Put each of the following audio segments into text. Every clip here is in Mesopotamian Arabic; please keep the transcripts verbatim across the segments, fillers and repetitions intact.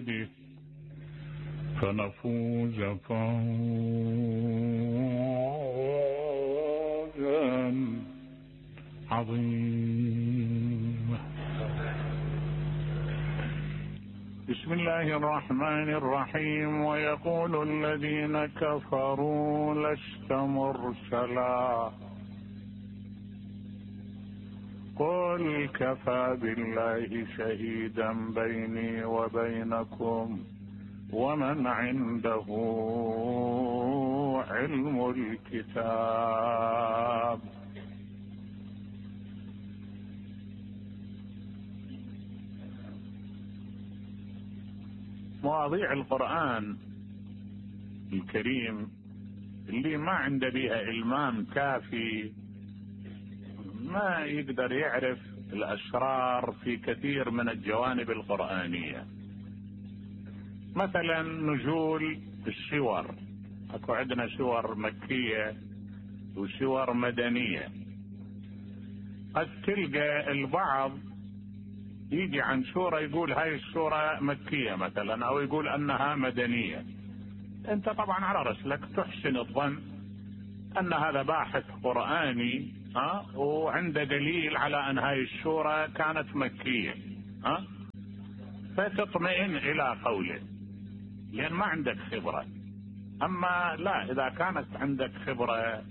بيده فنفوز فوزا عظيما. بسم الله الرحمن الرحيم. ويقول الذين كفروا لست مرسلا قل كفى بالله شهيدا بيني وبينكم ومن عنده علم الكتاب. مواضيع القرآن الكريم اللي ما عنده بيها إلمام كافي ما يقدر يعرف الأسرار في كثير من الجوانب القرآنية. مثلا نزول السور، اكو عندنا سور مكية وسور مدنية. قد تلقى البعض يجي عن سورة يقول هاي السورة مكية مثلا، او يقول انها مدنية. انت طبعا على رسلك تحسن الظن ان هذا باحث قرآني ها وعنده دليل على ان هاي السورة كانت مكية ها فتطمئن الى قوله لان ما عندك خبرة. اما لا، اذا كانت عندك خبرة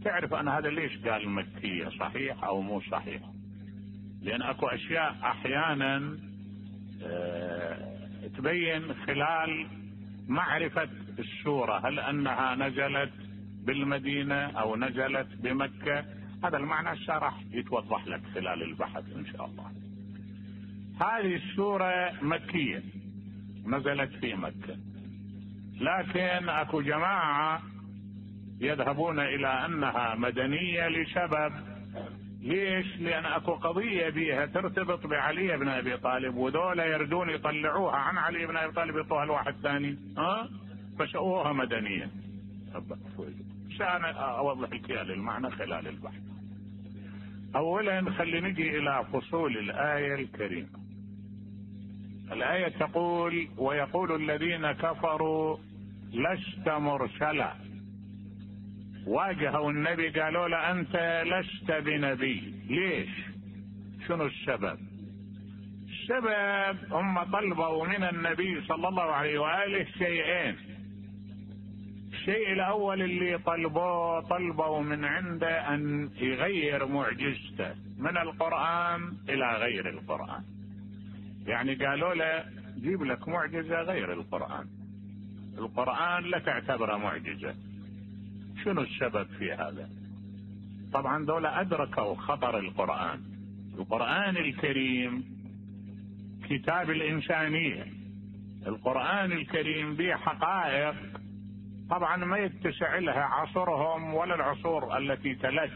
تعرف ان هذا ليش قال مكية، صحيح او مو صحيح. لان اكو اشياء احيانا اه تبين خلال معرفة السورة هل انها نزلت بالمدينة او نزلت بمكة. هذا المعنى الشرح يتوضح لك خلال البحث ان شاء الله. هذه السورة مكية نزلت في مكة، لكن اكو جماعة يذهبون الى انها مدنية لسبب. ليش؟ لان اكو قضية بيها ترتبط بعلي بن ابي طالب، وذولا يردون يطلعوها عن علي بن ابي طالب يطوها لواحد ثاني ها فشؤوها مدنية. عشان اوضح لك المعنى خلال البحث. اولا خلي نجي الى فصول الآية الكريمة. الآية تقول ويقول الذين كفروا لست مرسلا. واجهوا النبي قالوا له انت لست بنبي. ليش؟ شنو السبب؟ السبب هم طلبوا من النبي صلى الله عليه وآله شيئين. الشيء الاول اللي طلبوه طلبوا من عنده ان يغير معجزته من القرآن الى غير القرآن. يعني قالوا له جيب لك معجزة غير القرآن، القرآن لا تعتبره معجزة. شنو السبب في هذا؟ طبعا دولة ادركوا خطر القرآن. القرآن الكريم كتاب الانسانية. القرآن الكريم به حقائق طبعا ما يتسع لها عصرهم ولا العصور التي تلت،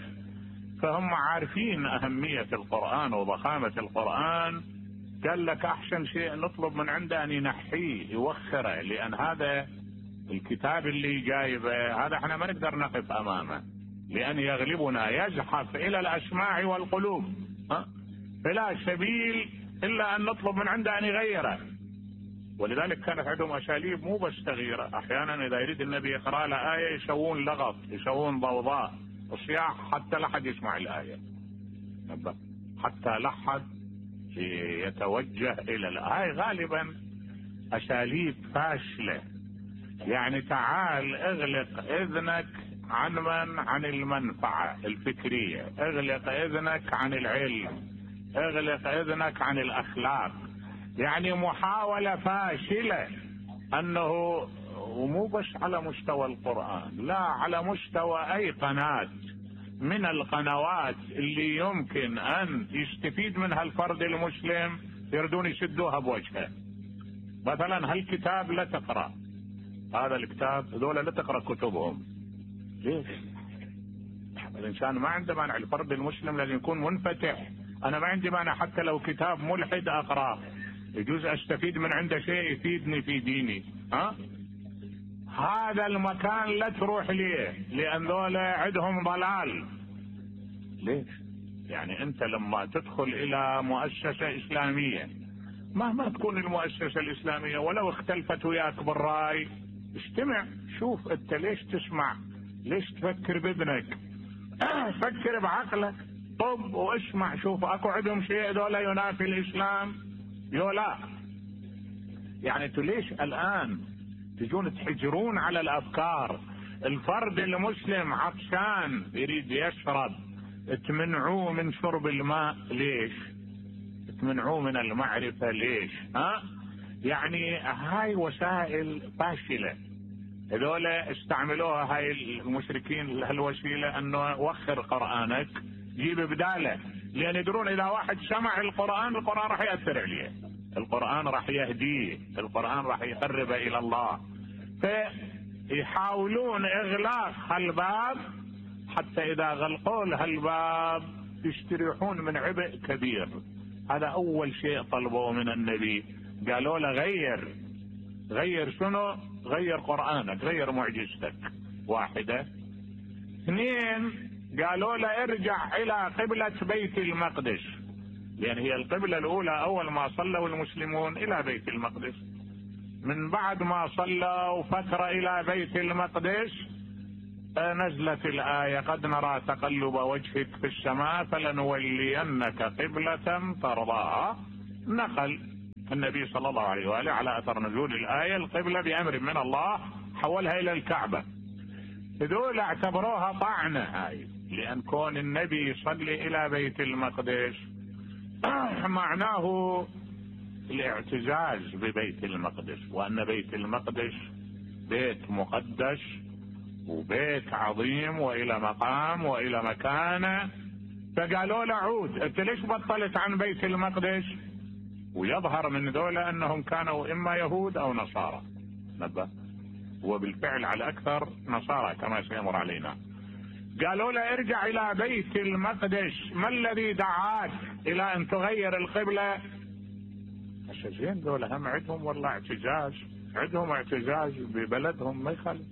فهم عارفين اهمية القرآن وضخامة القرآن. قال لك احسن شيء نطلب من عنده ان ينحيه يوخره، لان هذا الكتاب اللي جايبه هذا احنا ما نقدر نقف امامه، لان يغلبنا يزحف الى الاسماع والقلوب ها فلا سبيل الا ان نطلب من عنده ان يغيره. ولذلك كانت عندهم اساليب مو بس تغييره. احيانا اذا يريد النبي يقرا له ايه يسوون لغط، يسوون ضوضاء وصياح حتى لا حد يسمع الايه، حتى لا حد يتوجه الى الآية. هاي غالبا اساليب فاشلة. يعني تعال اغلق اذنك عن من؟ عن المنفعة الفكرية، اغلق اذنك عن العلم، اغلق اذنك عن الاخلاق. يعني محاولة فاشلة انه ومو بس على مستوى القرآن، لا على مستوى اي قناة من القنوات اللي يمكن ان يستفيد منها الفرد المسلم يردون يسدوها بوجهه. مثلا هالكتاب لا تقرأ، هذا الكتاب ذولا لا تقرأ كتبهم. ليش؟ الانسان ما عنده مانع، الفرد المسلم لازم يكون منفتح. انا ما عندي مانع حتى لو كتاب ملحد اقرأ، يجوز استفيد من عنده شيء يفيدني في ديني ها. هذا المكان لا تروح ليه، لان ذولا عندهم ضلال. ليش؟ يعني انت لما تدخل الى مؤسسة اسلامية مهما تكون المؤسسة الإسلامية ولو اختلفت وياك بالرأي، استمع، شوف انت ليش تسمع، ليش تفكر بابنك، فكر بعقلك، طب واسمع، شوف اكو عندهم شيء دولا ينافي الإسلام يو لا. يعني انتوا ليش الآن تجون تحجرون على الأفكار؟ الفرد المسلم عطشان يريد يشرب، تمنعوه من شرب الماء ليش؟ تمنعوه من المعرفة ليش؟ ها؟ يعني هاي وسائل فاشلة، هذولا استعملوها هاي المشركين هالوسيلة، انه وخر قرآنك جيب بداله، لان يدرون اذا واحد سمع القرآن القرآن راح يأثر عليه، القرآن راح يهديه، القرآن راح يقربه الى الله، فيحاولون اغلاق هالباب حتى اذا غلقوا له هالباب يستريحون من عبء كبير. هذا اول شيء طلبوه من النبي، قالوا له غير غير شنو؟ غير قرآنك، غير معجزتك، واحدة. اثنين، قالوا له ارجع الى قبلة بيت المقدس، لان هي القبلة الاولى اول ما صلوا المسلمون الى بيت المقدس، من بعد ما صلوا فترة الى بيت المقدس نزلت الآية قد نرى تقلب وجهك في السماء فلنولينك قبلة ترضاها. نقل النبي صلى الله عليه وآله على أثر نزول الآية القبلة بأمر من الله، حولها إلى الكعبة. هذول اعتبروها طعنة هاي، لأن كون النبي يصلي إلى بيت المقدس معناه الاعتزاز ببيت المقدس، وأن بيت المقدس بيت مقدس وبيت عظيم وإلى مقام وإلى مكانة. فقالوا له عود، انت ليش بطلت عن بيت المقدس؟ ويظهر من ذولا انهم كانوا اما يهود او نصارى، نبه، وبالفعل على اكثر نصارى كما سيمر علينا. قالوا له ارجع الى بيت المقدس، ما الذي دعاك الى ان تغير القبلة؟ الشيخين ذولا هم عندهم والله اعتزاز، عندهم اعتزاز ببلدهم، ما يخالف،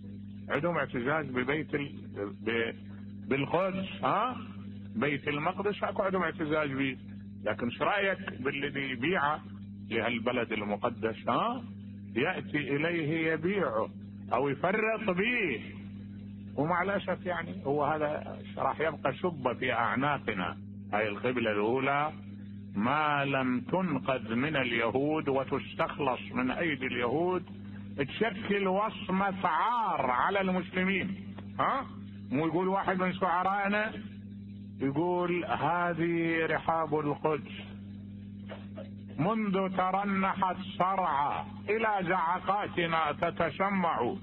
عندهم اعتزاز ببيت ال... ب... بالقدس، ها؟ بيت المقدس اكو عندهم اعتزاز به، لكن ايش رايك بالذي يبيعه لهالبلد المقدس؟ ها؟ ياتي اليه يبيعه او يفرط به، ومع الاسف يعني هو هذا راح يبقى شبه في اعناقنا. هاي القبله الاولى ما لم تنقذ من اليهود وتستخلص من ايدي اليهود تشكل وصمة عار على المسلمين. ها؟ مو يقول واحد من شعرائنا يقول هذه رحاب القدس منذ ترنحت صرعى الى زعقاتنا تتسمع.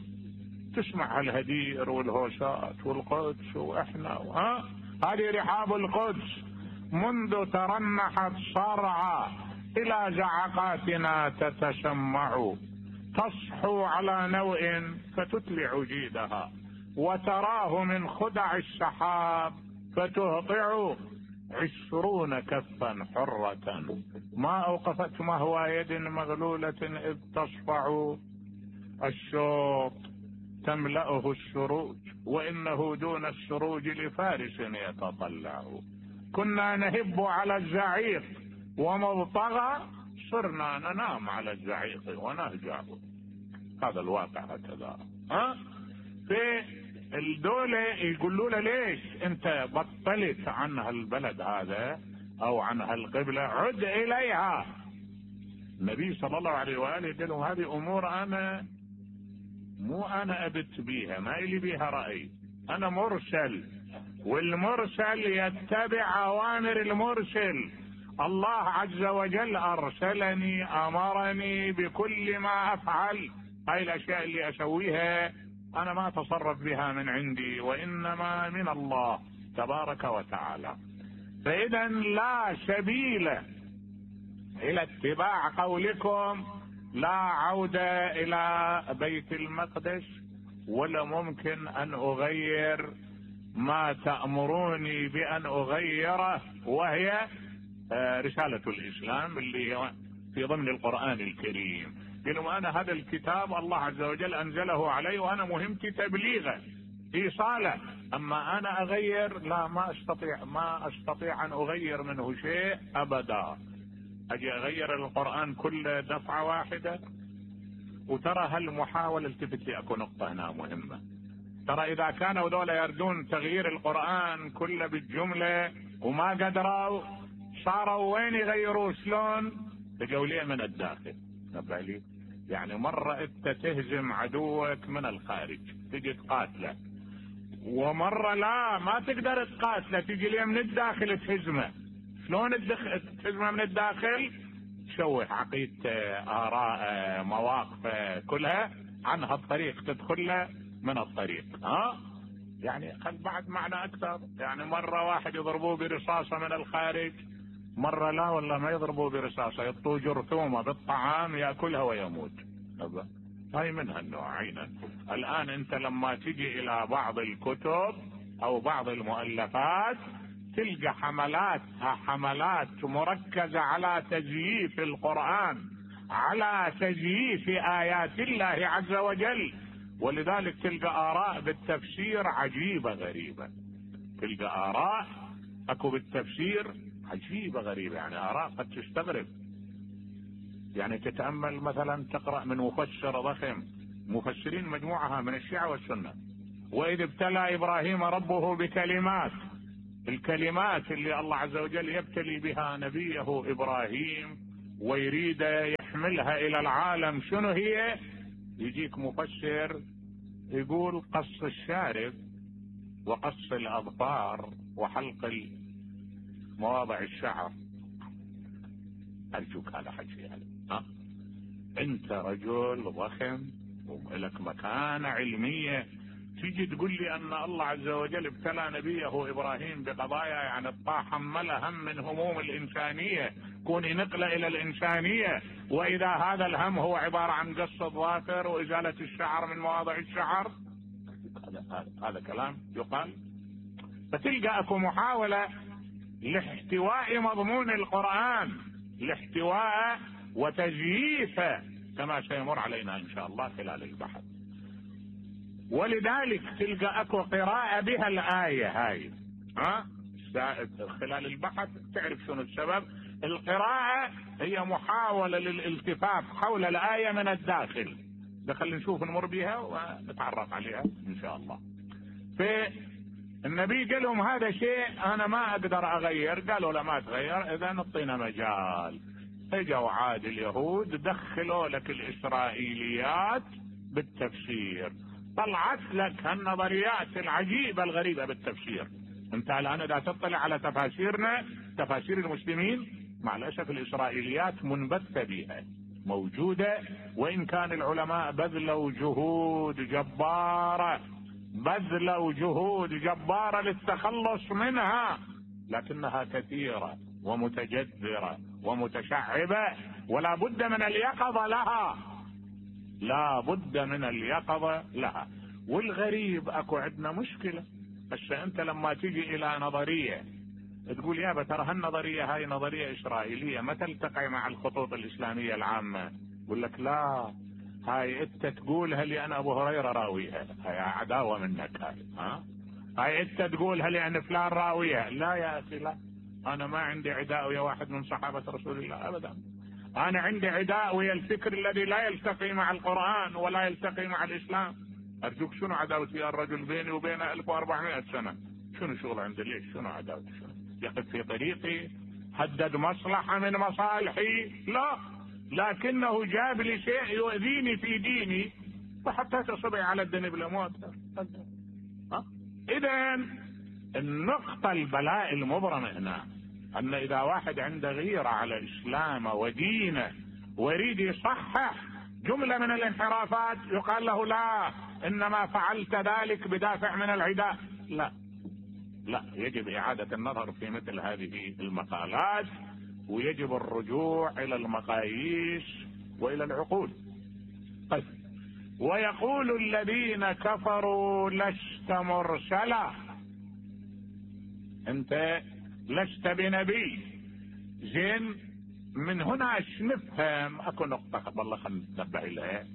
تسمع الهدير والهوشات والقدس واحنا، ها؟ هذه رحاب القدس منذ ترنحت صرعى الى زعقاتنا تتسمع، تصحو على نوء فتتلع جيدها، وتراه من خدع السحاب فتهطع عشرون كفا حرة، ما اوقفت مهوى يد مغلولة اذ تصفع، الشوط تملأه السروج وانه دون السروج لفارس يتطلع، كنا نهب على الزعيق ومبطغى صرنا ننام على الزعيق ونهجع. هذا الواقع هكذا. ها؟ في الدولة يقولوا له ليش انت بطلت عن هالبلد هذا او عن هالقبلة، عد اليها. النبي صلى الله عليه وآله قال لهم هذه امور انا مو انا ابت بيها، ما الي بيها رأي، انا مرسل، والمرسل يتبع اوامر المرسل. الله عز وجل ارسلني، امرني بكل ما افعل، هاي الاشياء اللي اسويها انا ما اتصرف بها من عندي، وانما من الله تبارك وتعالى. فاذا لا سبيل الى اتباع قولكم، لا عودة الى بيت المقدس، ولا ممكن ان اغير ما تأمروني بان اغيره، وهي رسالة الاسلام اللي هي في ضمن القرآن الكريم. قالوا انا هذا الكتاب الله عز وجل انزله علي وانا مهمتي تبليغه ايصاله، اما انا اغير لا، ما استطيع ما استطيع ان اغير منه شيء ابدا. اجي اغير القرآن كله دفعة واحدة؟ وترى هالمحاولة، التفت لي اكو نقطة هنا مهمة، ترى اذا كانوا دولة يردون تغيير القرآن كله بالجملة وما قدروا، صاروا وين يغيروا شلون؟ تجوا ليه من الداخل. نبه لي يعني مرة انت تهزم عدوك من الخارج تجي تقاتله، ومرة لا ما تقدر تقاتله تجي ليه من الداخل تهزمه. شلون تهزمه من الداخل؟ تشوه عقيدته، آراء، مواقفه كلها عن هالطريق، تدخله من الطريق. ها يعني خل بعد معنى اكثر، يعني مرة واحد يضربوه برصاصة من الخارج، مرة لا والله ما يضربوه برصاصة، يطوه جرثومة بالطعام يأكلها ويموت. هاي من هالنوعين. الآن أنت لما تجي إلى بعض الكتب أو بعض المؤلفات تلقى حملاتها حملات مركزة على تزييف القرآن، على تزييف آيات الله عز وجل، ولذلك تلقى آراء بالتفسير عجيبة غريبة، تلقى آراء أكو بالتفسير عجيبة غريبة، يعني آراء قد تستغرب. يعني تتأمل مثلا تقرأ من مفسر ضخم، مفسرين مجموعها من الشيعة والسنة، وإذ ابتلى إبراهيم ربه بكلمات، الكلمات اللي الله عز وجل يبتلي بها نبيه إبراهيم ويريد يحملها إلى العالم، شنو هي؟ يجيك مفسر يقول قص الشارب وقص الأظفار وحلق مواضع الشعر. أرجوك هذا حكي يعني. ها أنت رجل ضخم ولك مكانة علمية، تيجي تقول لي أن الله عز وجل ابتلى نبيه إبراهيم بقضايا يعني الطاعة حملها هم من هموم الإنسانية، كوني نقلة إلى الإنسانية، وإذا هذا الهم هو عبارة عن قص الظافر وإزالة الشعر من مواضع الشعر، هذا هذا كلام يقال. فتلقى أكو محاولة لاحتواء مضمون القرآن، لاحتواء وتزييفه، كما سيمر علينا إن شاء الله خلال البحث. ولذلك تلقى أكو قراءة بها الآية هاي، ها خلال البحث تعرف شنو السبب. القراءة هي محاولة للالتفاف حول الآية من الداخل، دخل نشوف نمر بها ونتعرف عليها إن شاء الله. فالنبي قال لهم هذا شيء أنا ما أقدر أغير، قالوا لا ما تغير، إذا نعطينا مجال. اجوا عاد اليهود دخلوا لك الإسرائيليات بالتفسير، طلعت لك هالنظريات العجيبة الغريبة بالتفسير. انت الآن اذا تطلع على تفاسيرنا، تفاسير المسلمين، مع الأسف الإسرائيليات منبثة بها موجودة، وإن كان العلماء بذلوا جهود جبارة بذلوا جهود جبارة للتخلص منها، لكنها كثيرة ومتجذرة ومتشعبة، ولا بد من اليقظة لها، لا بد من اليقظة لها. والغريب اكو عندنا مشكلة، بس انت لما تيجي الى نظرية تقول يا ترى هالنظرية هاي نظرية اسرائيلية ما تلتقي مع الخطوط الاسلامية العامة، يقول لك لا هاي انت تقولها لان ابو هريرة راويها، هاي عداوة منك هاي. ها هاي انت تقولها لان فلان راويها، لا يا اخي لا، انا ما عندي عداء ويا واحد من صحابة رسول الله ابدا، انا عندي عداء ويا الفكر الذي لا يلتقي مع القرآن ولا يلتقي مع الاسلام. ارجوك شنو عداوتي يا الرجل بيني وبينه ألف وأربعمائة سنة؟ شنو شغل عندي؟ ليش شنو عداوتي؟ شنو يقف في طريقي؟ هدد مصلحة من مصالحي؟ لا، لكنه جاب لي شيء يؤذيني في ديني فحتى تصبي على الدين بالاموات. اذا النقطة البلاء المبرمة هنا ان اذا واحد عنده غيرة على اسلامه ودينه ويريد يصحح جملة من الانحرافات يقال له لا انما فعلت ذلك بدافع من العداء. لا لا، يجب اعادة النظر في مثل هذه المقالات، ويجب الرجوع الى المقاييس والى العقول. طيب، ويقول الذين كفروا لست مرسلا، انت لست بنبي. زين، من هنا ايش نفهم؟ اكو نقطة قبل الله خلينا نتنبه لها،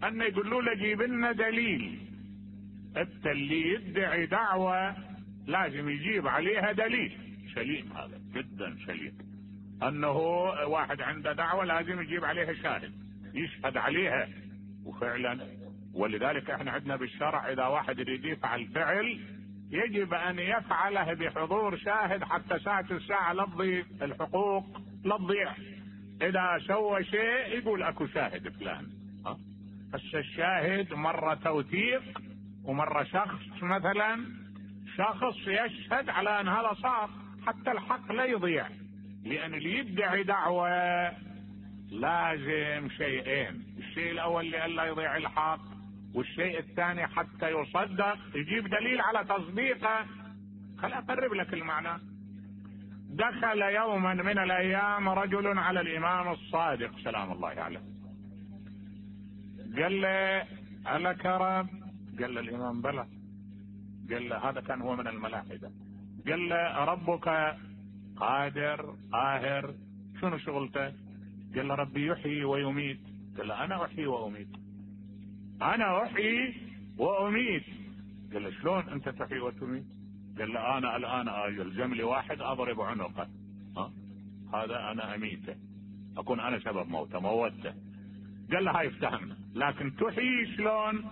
ان يقولوا له جيب لنا دليل. انت اللي يدعي دعوة لازم يجيب عليها دليل. سليم، هذا جدا سليم. انه واحد عنده دعوة لازم يجيب عليها شاهد يشهد عليها، وفعلا ولذلك احنا عندنا بالشرع اذا واحد يريد يفعل فعل يجب ان يفعله بحضور شاهد حتى ساعة الساعة لا تضيع الحقوق، لا تضيع. اذا سوى شيء يقول اكو شاهد فلان. بس الشاهد مرة توثيق ومرة شخص، مثلا شخص يشهد على ان هذا صار حتى الحق لا يضيع. لان اللي يدعي دعوة لازم شيئين، الشيء الاول لئلا يضيع الحق، والشيء الثاني حتى يصدق يجيب دليل على تصديقه. خل اقرب لك المعنى. دخل يوما من الايام رجل على الامام الصادق سلام الله عليه، قال له ألك رب؟ قال له الامام بلى. قال له هذا كان هو من الملاحدة. قال له ربك قادر قاهر؟ شنو شغلته؟ قال له ربي يحيي ويميت. قال له انا احيي واميت، انا احيي واميت. قال له شلون انت تحيي وتميت؟ قال له انا الان يلزم لي واحد اضرب عنقه، ها هذا انا اميته، اكون انا سبب موته موته. قال له هاي افتهمنا، لكن تحيي شلون؟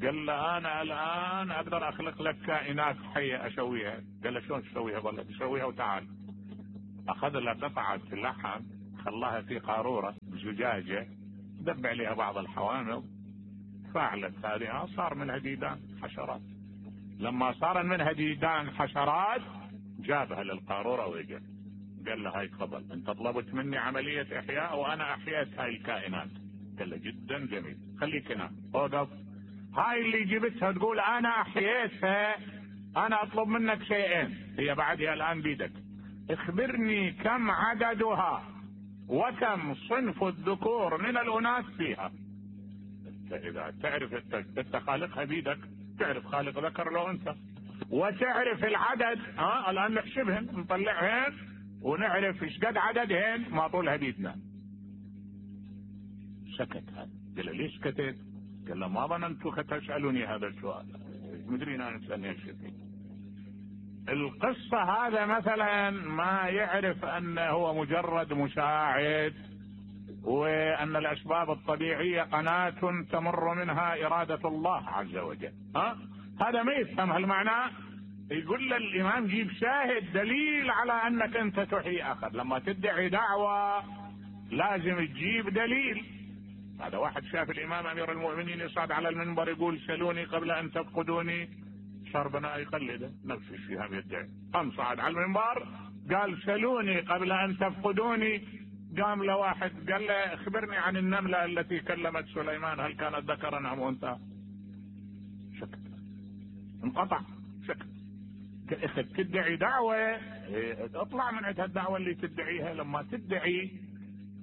قال له انا الان اقدر اخلق لك كائنات حيه اسويها. قال له شلون تسويها؟ قال له تسويها وتعال. اخذ له قطعه اللحم خلاها في قاروره زجاجه، دب عليها بعض الحوامض، فعلت هذه صار منها ديدان حشرات. لما صار منها ديدان حشرات جابها للقارورة وإجا قال له هاي تفضل، انت طلبت مني عملية احياء وانا احييت هاي الكائنات. قال له جدا جميل، خليك هنا اوقف. هاي اللي جبتها تقول انا احييتها، انا اطلب منك شيئين، هي بعدها الان بيدك. اخبرني كم عددها وكم صنف الذكور من الاناث فيها. اذا تعرف انت خالقها بيدك، تعرف خالق ذكر لو انثى، وتعرف العدد، ها الان نحسبهن نطلعهن ونعرف ايش قد عددهن ما طولها بيدنا. سكت هذا. قال له ليش سكتت؟ قال له ما ظننتك تسالني هذا السؤال، مدري انا نسالني الشيء. القصة هذا مثلا ما يعرف انه هو مجرد مساعد، وان الاسباب الطبيعية قناة تمر منها ارادة الله عز وجل، ها هذا ما يفهم هالمعنى. يقول له الامام جيب شاهد دليل على انك انت تحيي اخر. لما تدعي دعوة لازم تجيب دليل. هذا واحد شاف الامام امير المؤمنين يصعد على المنبر يقول سلوني قبل ان تفقدوني، صار بناء يقلده نفس الشيء هم يدعي. قام صعد على المنبر قال سلوني قبل ان تفقدوني، قام له واحد قال له اخبرني عن النملة التي كلمت سليمان، هل كانت ذكرا ام انثى؟ سكت، انقطع، سكت. اخذ تدعي دعوة اطلع من عند الدعوة اللي تدعيها. لما تدعي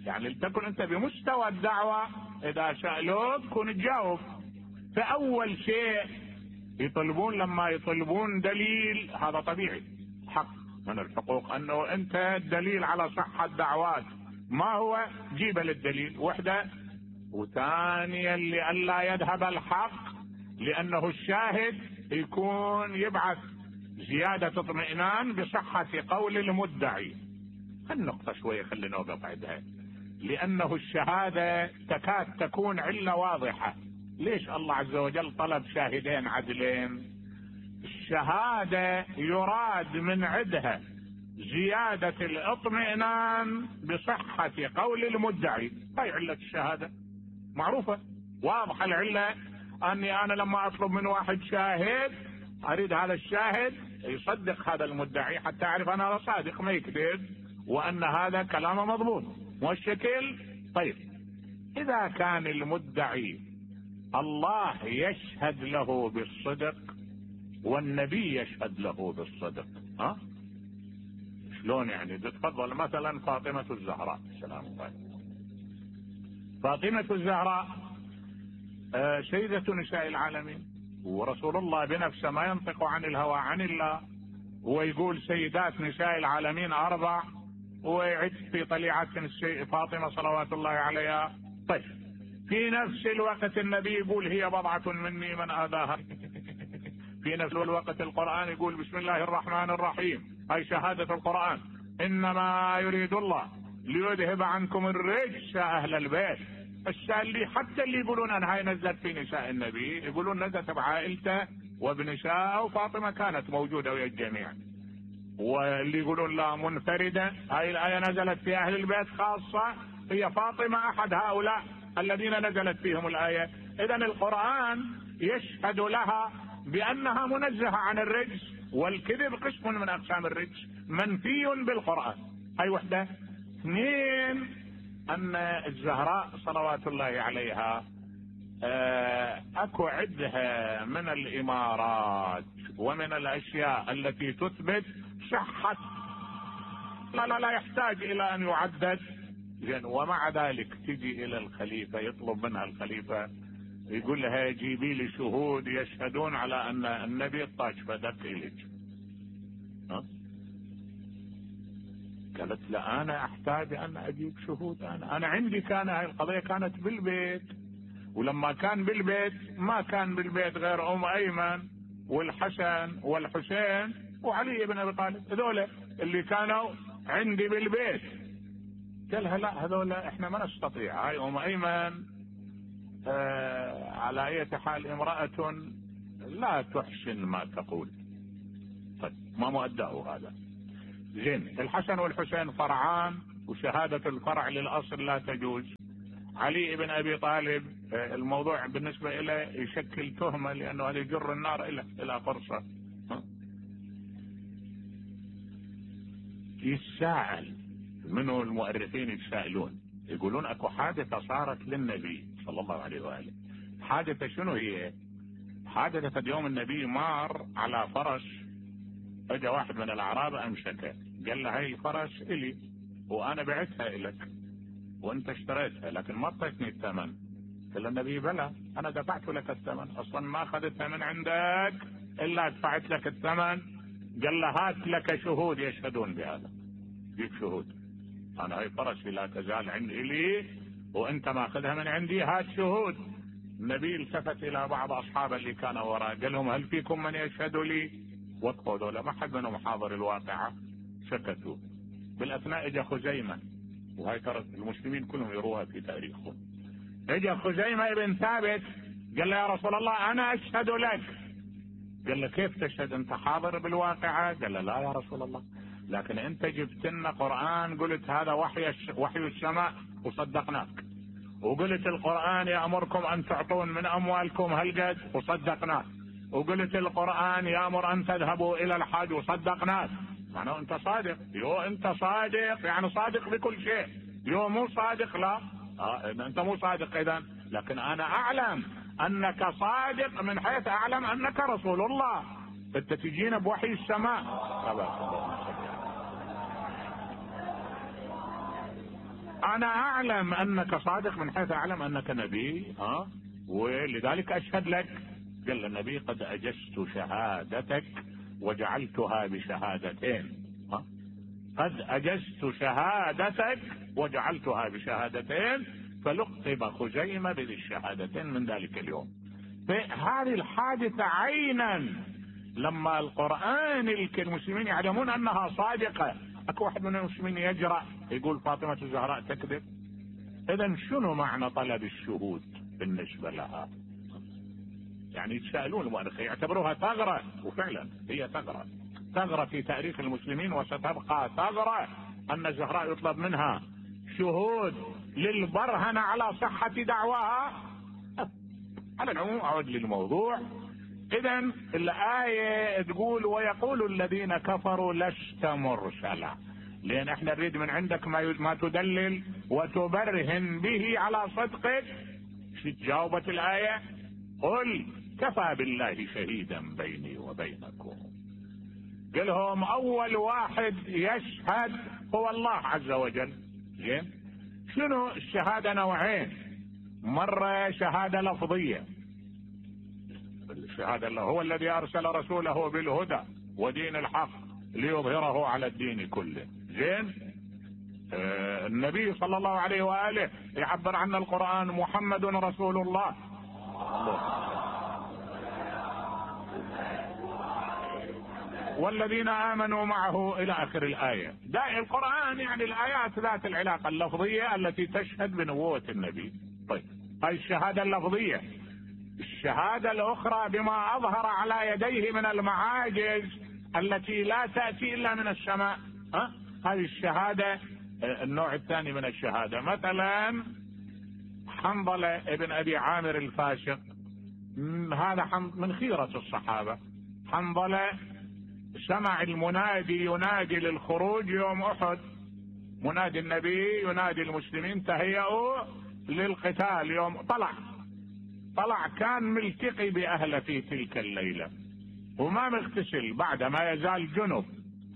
يعني لتكن انت بمستوى الدعوة، اذا سألوك كن تجاوب. فاول شيء يطلبون لما يطلبون دليل، هذا طبيعي حق من الحقوق انه انت الدليل على صحة دعوات. ما هو؟ جيب للدليل وحدة. وثانيا لئلا يذهب الحق، لانه الشاهد يكون يبعث زيادة اطمئنان بصحة قول المدعي. النقطة شوية خلينا نوقف عندها، لانه الشهادة تكاد تكون علة واضحة. ليش الله عز وجل طلب شاهدين عدلين؟ الشهادة يراد من عندها زيادة الاطمئنان بصحة قول المدعي. هاي علة الشهادة معروفة واضحة. العلة اني انا لما اطلب من واحد شاهد اريد هذا الشاهد يصدق هذا المدعي حتى اعرف انا هذا صادق ما يكذب، وان هذا كلامه مضبوط والشكل. طيب اذا كان المدعي الله يشهد له بالصدق والنبي يشهد له بالصدق، ها شلون يعني؟ تفضل مثلا فاطمة الزهراء سلام الله. فاطمة الزهراء سيدة نساء العالمين، ورسول الله بنفسه ما ينطق عن الهوى عن الله، ويقول سيدات نساء العالمين اربع، ويعد في طليعة فاطمة صلوات الله عليها. طيب في نفس الوقت النبي يقول هي بضعة مني من آذاها. في نفس الوقت القرآن يقول بسم الله الرحمن الرحيم، هاي شهادة القرآن. انما يريد الله ليذهب عنكم الرجس اهل البيت. اللي حتى اللي يقولون ان هاي نزلت في نساء النبي يقولون نزلت بعائلته وبنساءه وفاطمه كانت موجوده ويا الجميع. واللي يقولون لا منفرده، هاي الايه نزلت في اهل البيت خاصه، هي فاطمه احد هؤلاء الذين نزلت فيهم الايه. اذا القران يشهد لها بانها منزهه عن الرجس، والكذب قسم من اقسام الرجس منفي بالقران. هاي وحده. اثنين، ان الزهراء صلوات الله عليها اكو عدها من الامارات ومن الاشياء التي تثبت صحة، لا لا لا يحتاج الى ان يعدد. ومع ذلك تجي الى الخليفة، يطلب منها الخليفة يقول لها جيبي لي شهود يشهدون على ان النبي طاج فدك اليك. قالت لا انا احتاج ان اجيب شهود، انا انا عندي كان هاي القضية كانت بالبيت، ولما كان بالبيت ما كان بالبيت غير ام ايمن والحسن والحسين وعلي بن ابي طالب، هذول اللي كانوا عندي بالبيت. قالها لا هذول احنا ما نستطيع، هاي ام ايمن آه على اي حال امرأة لا تحسن ما تقول. طيب ما مؤداه هذا. زين، الحسن والحسين فرعان وشهادة الفرع للاصل لا تجوز. علي بن ابي طالب الموضوع بالنسبة له يشكل تهمة لانه هذا يجر النار الى الى فرصة. يتساءل منه المؤرخين، يتساءلون يقولون اكو حادثة صارت للنبي صلى الله عليه واله. حادثة شنو هي؟ حادثة يوم النبي مار على فرس، اجى واحد من الاعراب امسكه قال له هاي الفرس الي وانا بعتها الك وانت اشتريتها لكن ما اعطيتني الثمن. قال النبي بلى انا دفعت لك الثمن، اصلا ما اخذتها من عندك الا دفعت لك الثمن. قال له هات لك شهود يشهدون بهذا، جيب شهود، انا هاي فرسي لا تزال عندي لي وانت ماخذها من عندي، هات شهود. النبي التفت الى بعض اصحابه اللي كانوا وراء قال لهم هل فيكم من يشهد لي؟ وقفوا ذولا ما حد منهم حاضر الواقعة، سكتوا. بالاثناء اجى خزيمة، وهاي ترى المسلمين كلهم يروها في تاريخهم. اجى خزيمة ابن ثابت قال له يا رسول الله انا اشهد لك. قال له كيف تشهد انت حاضر بالواقعة؟ قال له لا يا رسول الله، لكن انت جبت لنا قرآن قلت هذا وحي وحي السماء وصدقناك، وقلت القرآن يأمركم ان تعطون من اموالكم هالقد وصدقناك، وقلت القرآن يأمر ان تذهبوا الى الحج وصدقناك. معناه انت صادق. يو انت صادق يعني صادق بكل شيء. يو مو صادق لا آه انت مو صادق اذا، لكن انا اعلم انك صادق من حيث اعلم انك رسول الله، انت تجينا بوحي السماء. انا اعلم انك صادق من حيث اعلم انك نبي ها آه؟ ولذلك اشهد لك. قال النبي قد اجزت شهادتك وجعلتها بشهادتين. ها؟ قد اجزت شهادتك وجعلتها بشهادتين، فلقب خزيمة بذي الشهادتين من ذلك اليوم. فهذه الحادثة عينا لما القرآن المسلمين يعلمون انها صادقة، اكو واحد من المسلمين يجرأ يقول فاطمة الزهراء تكذب. اذا شنو معنى طلب الشهود بالنسبة لها؟ يعني يتساءلون المؤرخين يعتبروها ثغرة، وفعلا هي ثغرة، ثغرة في تاريخ المسلمين وستبقى ثغرة ان الزهراء يطلب منها شهود للبرهنة على صحة دعواها. على العموم اعود للموضوع. اذا الآية تقول ويقول الذين كفروا لست مرسلا، لان احنا نريد من عندك ما ما تدلل وتبرهن به على صدقك. شو جاوبت الآية؟ قل كفى بالله شهيدا بيني وبينكم. قلهم اول واحد يشهد هو الله عز وجل. زين، شنو الشهادة؟ نوعين، مرة شهادة لفظية، الشهادة الله هو الذي ارسل رسوله بالهدى ودين الحق ليظهره على الدين كله. زين، آه النبي صلى الله عليه وآله يعبر عن القرآن محمد رسول الله. والذين آمنوا معه إلى آخر الآية. داعي القرآن يعني الآيات ذات العلاقة اللفظية التي تشهد بنبوة النبي. طيب هذه الشهادة اللفظية. الشهادة الأخرى بما أظهر على يديه من المعاجز التي لا تأتي إلا من السماء. ها؟ هذه الشهادة النوع الثاني من الشهادة. مثلا حنظلة ابن أبي عامر الفاشق، هذا من خيرة الصحابة. حنظلة سمع المنادي ينادي للخروج يوم أحد، منادي النبي ينادي المسلمين تهيئوا للقتال يوم. طلع طلع كان ملتقي بأهله في تلك الليلة وما مغتسل بعد ما يزال جنب،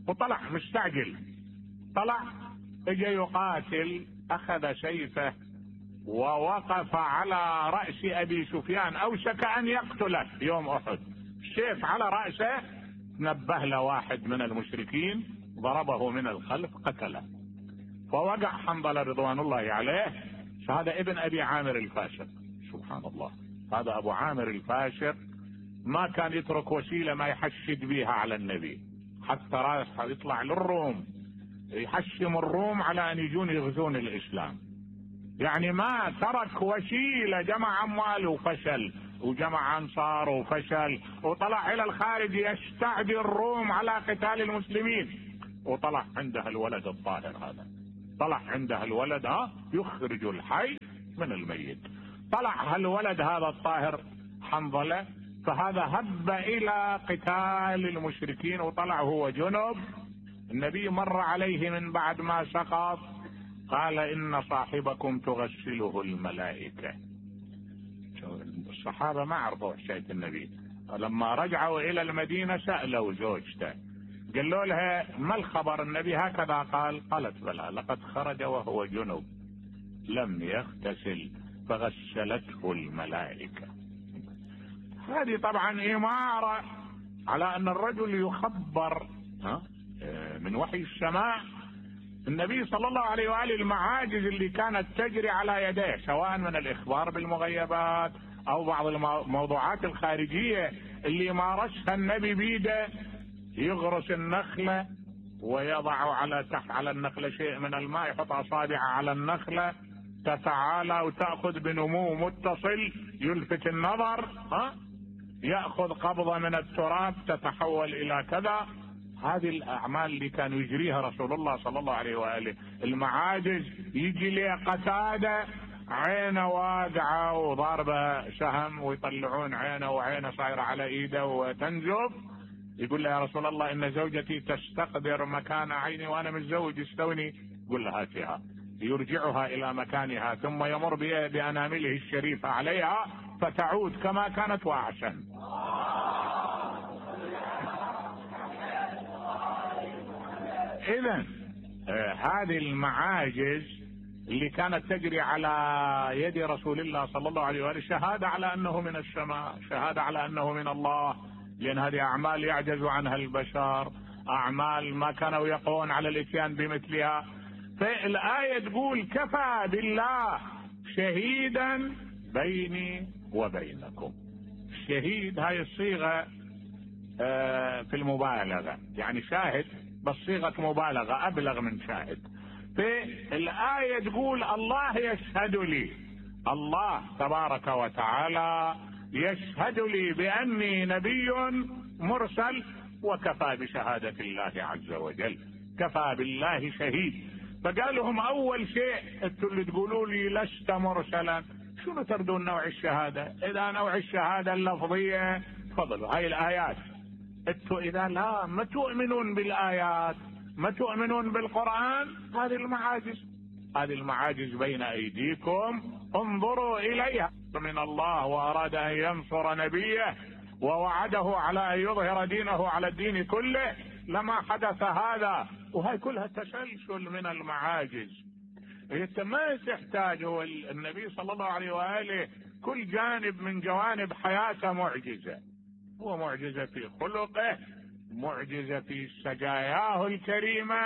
وطلع مستعجل. طلع اجى يقاتل، أخذ سيفه ووقف على رأس أبي سفيان، أوشك أن يقتله يوم أحد. السيف على رأسه، نبه له واحد من المشركين ضربه من الخلف قتله، فوقع حنظلة رضوان الله عليه. هذا ابن أبي عامر الفاشق. سبحان الله، هذا أبو عامر الفاشق ما كان يترك وسيلة ما يحشد بها على النبي، حتى راح يطلع للروم يحشم الروم على أن يجون يغزون الإسلام. يعني ما ترك وسيلة، جمع أموال وفشل، وجمع أنصار وفشل، وطلع إلى الخارج يستعدي الروم على قتال المسلمين. وطلع عندها الولد الطاهر هذا، طلع عندها الولد ها يخرج الحي من الميت. طلع هالولد هذا الطاهر حنظلة، فهذا هب إلى قتال المشركين وطلع هو جنب. النبي مر عليه من بعد ما سقط، قال إن صاحبكم تغسله الملائكة. الصحابة ما عرفوا حكاية النبي. لما رجعوا إلى المدينة سألوا زوجته، قالوا لها ما الخبر؟ النبي هكذا قال. قالت بلى، لقد خرج وهو جنب لم يغتسل فغسلته الملائكة. هذه طبعا إمارة على أن الرجل يخبر من وحي السماء. النبي صلى الله عليه وآله المعاجز اللي كانت تجري على يديه، سواء من الإخبار بالمغيبات أو بعض الموضوعات الخارجية اللي مارسها النبي بيده، يغرس النخلة ويضع على تحت على النخلة شيء من الماء، يحط أصابعه على النخلة تتعالى وتأخذ بنمو متصل يلفت النظر، ها يأخذ قبضة من التراب تتحول إلى كذا. هذه الأعمال اللي كان يجريها رسول الله صلى الله عليه وآله. المعاجز يجي لي قتادة عينه واقعة وضاربة سهم ويطلعون عينه وعينه صايرة على إيده وتنزف، يقول له يا رسول الله إن زوجتي تستقدر مكان عيني وأنا متزوج استوني. يقول له هاتها، يرجعها إلى مكانها ثم يمر بأنامله الشريفة عليها فتعود كما كانت وأحسن. إذن آه هذه المعاجز اللي كانت تجري على يد رسول الله صلى الله عليه وآله شهادة على أنه من السماء، شهادة على أنه من الله، لأن هذه أعمال يعجز عنها البشر، أعمال ما كانوا يقوون على الإتيان بمثلها. فالآية تقول كفى بالله شهيدا بيني وبينكم. الشهيد هاي الصيغة آه في المبالغة، يعني شاهد بس صيغة مبالغة أبلغ من شاهد. فالآية تقول الله يشهد لي، الله تبارك وتعالى يشهد لي بأني نبي مرسل، وكفى بشهادة الله عز وجل، كفى بالله شهيد. فقال لهم أول شيء انتوا اللي تقولوا لي لست مرسلا، شنو تردون نوع الشهادة؟ إذا نوع الشهادة اللفظية تفضلوا هاي الآيات. انتوا إذا لا ما تؤمنون بالآيات، ما تؤمنون بالقرآن، هذه المعاجز، هذه المعاجز بين أيديكم انظروا إليها من الله، وأراد أن ينصر نبيه ووعده على أن يظهر دينه على الدين كله لما حدث هذا. وهي كلها تسلسل من المعاجز. انت ما تحتاج، هو النبي صلى الله عليه وآله كل جانب من جوانب حياته معجزة. هو معجزة في خلقه، معجزة في سجاياه الكريمة،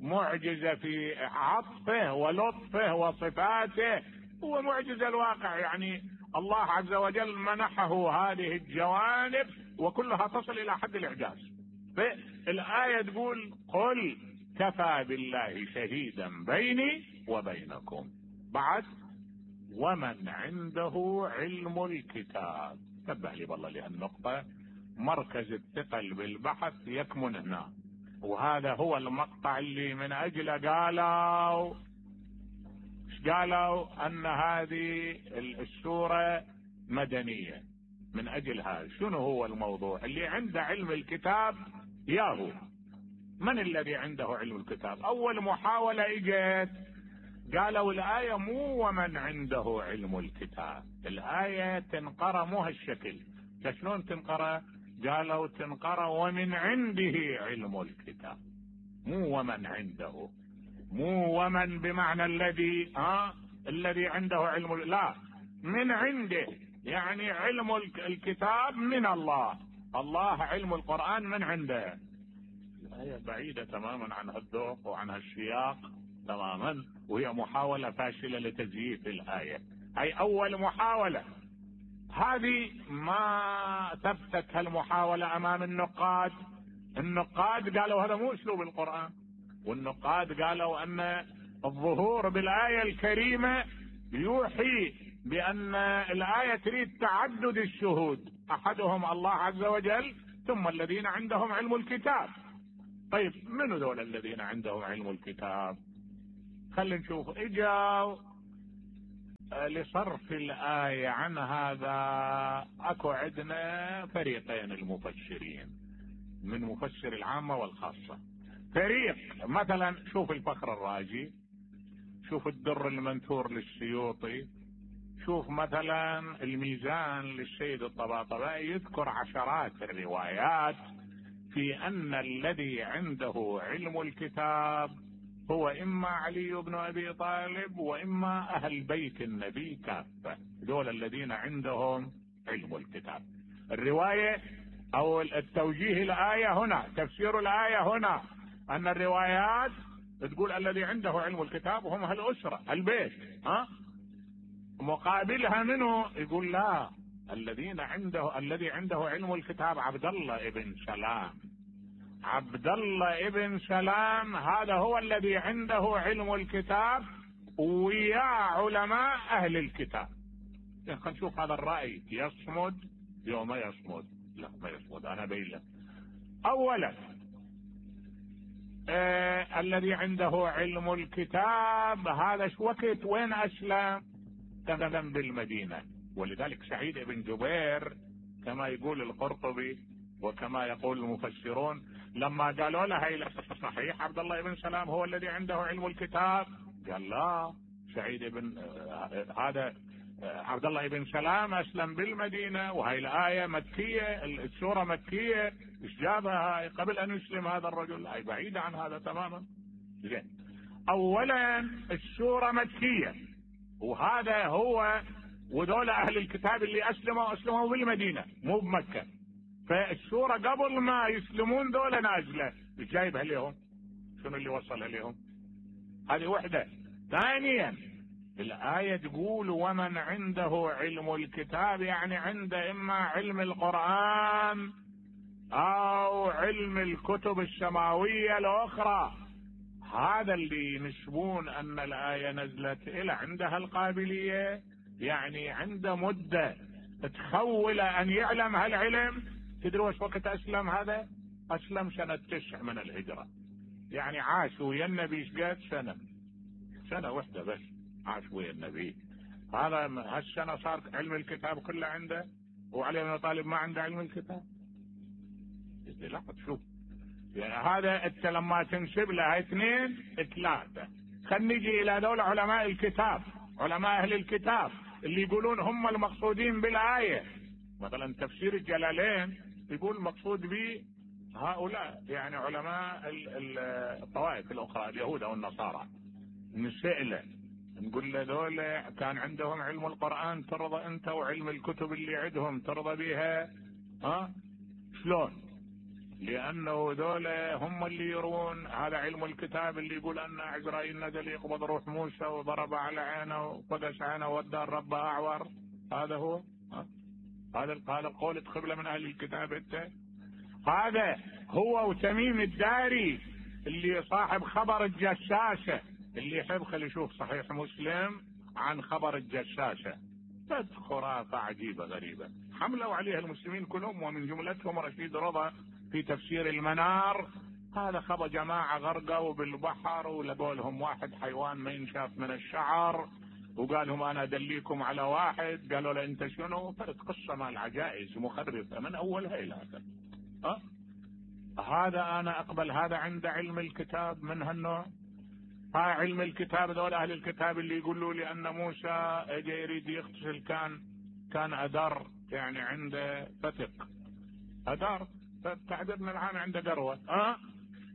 معجزة في عطفه ولطفه وصفاته، هو معجزة الواقع. يعني الله عز وجل منحه هذه الجوانب وكلها تصل إلى حد الإعجاز. فالآية تقول قل كفى بالله شهيدا بيني وبينكم. بعد ومن عنده علم الكتاب. تبع لي والله لهالنقطة، مركز الثقل بالبحث يكمن هنا، وهذا هو المقطع اللي من أجله قالوا قالوا أن هذه السورة مدنية. من أجل هذا شنو هو الموضوع؟ اللي عنده علم الكتاب ياهو. من الذي عنده علم الكتاب؟ أول محاولة إجت قالوا الآية مو ومن عنده علم الكتاب، الآية تنقرأ مو هالشكل. شلون تنقرأ؟ قالوا تنقرأ ومن عنده علم الكتاب، مو ومن عنده، مو ومن بمعنى الذي ها الذي عنده علم، لا، من عنده، يعني علم الكتاب من الله، الله علم القرآن من عنده. الآية بعيدة تماما عن هالذوق وعن هالسياق تماما، وهي محاولة فاشلة لتزييف الآية. هي أول محاولة، هذه ما ثبتت هالمحاولة أمام النقاد. النقاد قالوا هذا مو أسلوب القرآن، والنقاد قالوا أن الظهور بالآية الكريمة يوحي بأن الآية تريد تعدد الشهود، أحدهم الله عز وجل ثم الذين عندهم علم الكتاب. طيب من ذول الذين عندهم علم الكتاب؟ خلينا نشوف. اجاوا لصرف الآية عن هذا اكو عندنا فريقين المفسرين، من مفسر العامة والخاصة. فريق مثلا شوف الفخر الرازي، شوف الدر المنثور للسيوطي، شوف مثلا الميزان للسيد الطباطبائي، يذكر عشرات الروايات في أن الذي عنده علم الكتاب هو إما علي بن أبي طالب وإما أهل بيت النبي كافة، دول الذين عندهم علم الكتاب. الرواية أو التوجيه الآية هنا، تفسير الآية هنا، أن الروايات تقول الذي عنده علم الكتاب هم أهل الأسرة البيت، ها؟ مقابلها منه يقول لا، الذين عنده الذي عنده علم الكتاب عبد الله ابن سلام، عبد الله ابن سلام هذا هو الذي عنده علم الكتاب ويا علماء أهل الكتاب. خلينا نشوف هذا الرأي يصمد يوم يصمد. لا ما يصمد، أنا بيله. أولا آه الذي عنده علم الكتاب هذا شو وقت وين أسلم؟ تمام بالمدينة. ولذلك سعيد بن جبير كما يقول القرطبي وكما يقول المفسرون لما قالوا له هي صحيح عبد الله بن سلام هو الذي عنده علم الكتاب، قال لا، سعيد بن آه هذا آه عبد الله بن سلام أسلم بالمدينة، وهي الآية مكية، السورة مكية، ايش جابها قبل أن يسلم هذا الرجل؟ هي بعيدة عن هذا تماما. زين، أولا السورة مكية، وهذا هو وذول أهل الكتاب اللي أسلموا أسلموا بالمدينة مو بمكة، فالسورة قبل ما يسلمون ذولا نازلة. جايبها لهم، شنو اللي وصلها لهم؟ هذه وحدة. ثانيا الآية تقول ومن عنده علم الكتاب، يعني عنده إما علم القرآن أو علم الكتب السماوية الأخرى. هذا اللي ينسبون أن الآية نزلت إلى عندها القابلية، يعني عنده مدة تخول أن يعلم هالعلم. تدروا ايش وقت أسلم هذا؟ أسلم سنة تسع من الهجرة، يعني عاش ويا النبي ايش قد سنة، سنة واحدة بس عاش ويا النبي. هذا هالسنة صار علم الكتاب كله عنده، وعلي بن أبي طالب ما عنده علم الكتاب. لا تشوف يعني هذا انت لما تنسب له اثنين ثلاثة. خلينا نجي الى دول علماء الكتاب، علماء اهل الكتاب اللي يقولون هم المقصودين بالآية. مثلا تفسير الجلالين يقول المقصود به هؤلاء يعني علماء الطوائف الاخرى اليهود او النصارى. نسأله نقول له دول كان عندهم علم القرآن ترضى انت وعلم الكتب اللي عندهم ترضى بها؟ ها شلون؟ لأنه ذول هم اللي يرون هذا علم الكتاب اللي يقول أن عزرائيل نزل يقبض روح موسى وضرب على عينه وقدس عينه ودى الرب أعور. هذا هو هذا قال قولة قبلة من أهل الكتاب. أنت هذا هو وتميم الداري اللي صاحب خبر الجشاشة، اللي يحب خلي يشوف صحيح مسلم عن خبر الجشاشة. خرافة عجيبة غريبة حملوا عليها المسلمين كلهم، ومن جملتهم رشيد رضا في تفسير المنار. هذا خبر جماعة غرقوا بالبحر ولقوا لهم واحد حيوان ما ينشاف من الشعر، وقال لهم انا ادليكم على واحد، قالوا له انت شنو؟ فرد قصة مال عجائز مخرفة من اولها الى اخر. أه؟ هذا انا اقبل هذا عند علم الكتاب من هالنوع؟ هاي علم الكتاب ذول اهل الكتاب اللي يقولوا لي ان موسى اجى يريد يغتسل كان كان ادر، يعني عنده فتق ادر، تعبيرنا العام عنده قروة. أه؟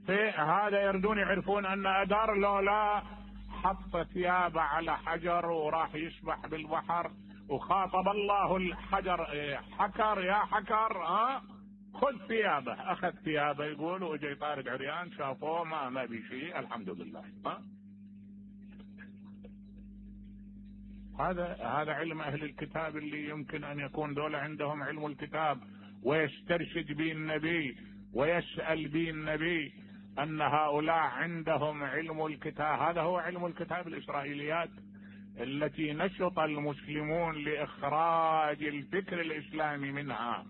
في هذا يردون يعرفون ان ادر لو لا حط ثيابه على حجر وراح يسبح بالبحر وخاطب الله الحجر حكر يا حكر أه؟ خذ ثيابه، اخذ ثيابه يقول، واجى طارق عريان شافوه ما ما بي شيء الحمد لله. أه؟ هذا هذا علم اهل الكتاب اللي يمكن ان يكون دولة عندهم علم الكتاب ويسترشد به النبي ويسأل به النبي ان هؤلاء عندهم علم الكتاب. هذا هو علم الكتاب، الاسرائيليات التي نشط المسلمون لاخراج الفكر الاسلامي منها.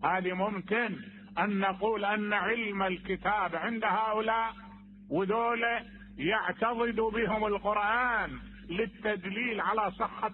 هذه ممكن ان نقول ان علم الكتاب عند هؤلاء وذولا يعتضد بهم القرآن للتدليل على صحة